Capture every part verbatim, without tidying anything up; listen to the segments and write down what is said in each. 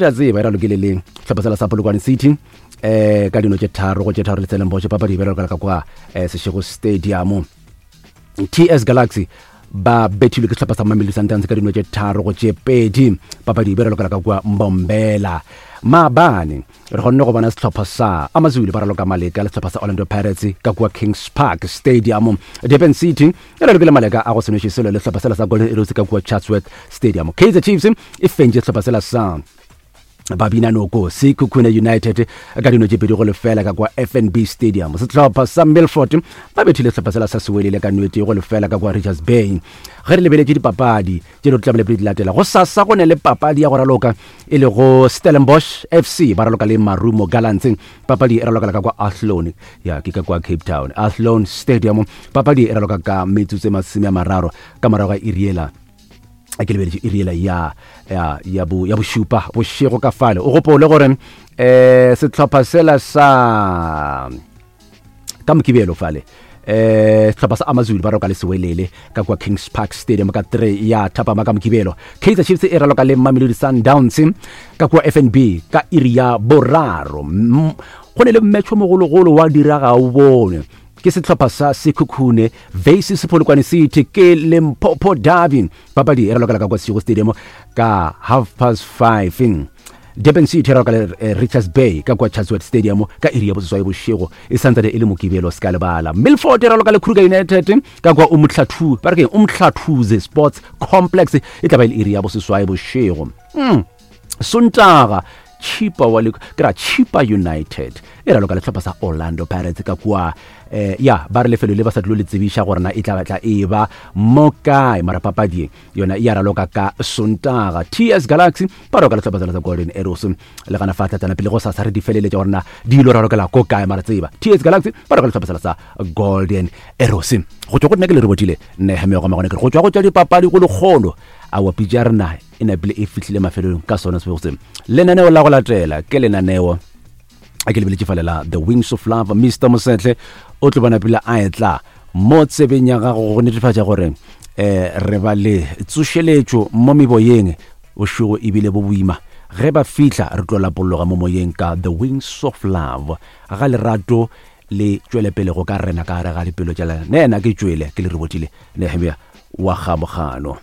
Re a tseba e ralokile le sehlopha sela sa Polokwane City eh ka dino tše tharo go tše tharo le Stellenbosch. Papadi e be ralokela ka kwa eh, Seshego Stadium. T S Galaxy ba bethilwe ke sehlopha sa Mamelodi Sundowns ka dino tše tharo go tše pedi. Papadi e be ralokela ka kwa Mbombela. Maabane re kgonne go bona sehlopha sa Amazulu ba raloka maleka le sehlopha sa Orlando Pirates ka kua Kings Park Stadium. Durban City e ralokile maleka a go se nweše selo le sehlopha sela sa Golden Arrows ka kua Chatsworth Stadium. Kaizer Chiefs e fentše sehlopha sela sa Babina Noko Sekhukhune United ka dino tše pedi go lefela ka kwa F N B Stadium. Sehlopha sa Milford ba bethile sehlopha sela sa Sewelele ka nwete go lefela ka kwa Richards Bay. Ge re lebeletše dipapadi tše di tlamele pele di latela go sasa, go ne le papadi ya go raloka e le go Stellenbosch F C ba raloka le Marumo Gallants. Papadi e ralokela ka kwa Athlone, ya ke ka kwa Cape Town, Athlone Stadium. Papadi e raloka ka metsotso e masome a mararo ka morago ga iriela, a ke lebeletše iriela ya ya ya bo ya bošupa bošego ka fale. O gopole gore eh sehlopha sela sa ka Mokibelo fale, eh sehlopha sa Amazulu ba roka le Sewelele ka kwa Kings Park Stadium ka three ya thapama ka Mokibelo. Kaizer Chiefs e raloka le Mamelodi Sundowns ka kwa F N B ka iri ya boraro. Mm, go ne le mmetšho mogologolo wa diraga o bone ke sehlopha sa Sekhukhune versus Polokwane City, ke Limpopo Derby. Papadi e ralokela ka kwa Seshego Stadium ka half past five. Durban City e raloka le eh, Richards Bay ka kwa Chatsworth Stadium ka iri ya boseswai bošego, e santsane e le Mokibelo, se ka lebala. Milford e raloka le Kruger United ka kwa Umhlathu, ba re ke Umhlathuze Sports Complex, e tla ba e le iri ya boseswai bošego. mm. Sontaga Chipa wa le ke ra Chipa United e raloka le sehlopha sa Orlando Pirates ka kua eh, ya ba re lefelo le ba sa dilo le tsebiša gore na e tla tla e ba mo kae, mara papadi e yona e ya raloka ka Sontaga. T S Galaxy ba raloka le sehlopha sela sa Golden Arrows le gana fa tlatsana pele go sa sa re di feleletša gore na di ilo ralokela ko kae, mara tseba T S Galaxy ba raloka le sehlopha sela sa Golden Arrows. Go tšwa go nna ke le re botile Nehemia go magone, ke re go tšwa go tša dipapadi go lekgolo a wa pitša rena e napile e fihlile mafelelong ka sona sebego se. Lenaneo la go latela ke lenaneo a ke lebeletše fale la The Wings of Love. Mister Mosetle o tlo bona pele a etla mo tsebeng ya gago go netefatša gore um re ba le tsošeletšo mo meboyeng. Bošego ebile bo boima, ge ba fihla re tlo lapologa mo moyeng ka The Wings of Love. Ga lerato le tšwele pele go ka rena ka gare ga dipelo tša lena. Ne ena ke tšwele ke le re botile Nehemia wa gamogano.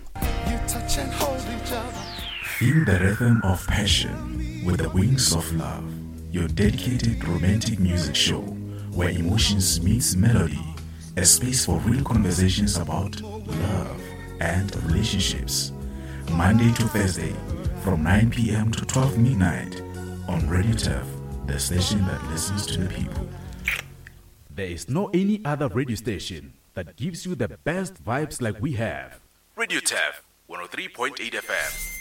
Feel the rhythm of passion with the Wings of Love, your dedicated romantic music show where emotions meets melody, a space for real conversations about love and relationships. Monday to Thursday from nine p m to twelve midnight on Radio Turf, the station that listens to the people. There is no any other radio station that gives you the best vibes like we have. Radio Turf, one oh three point eight F M.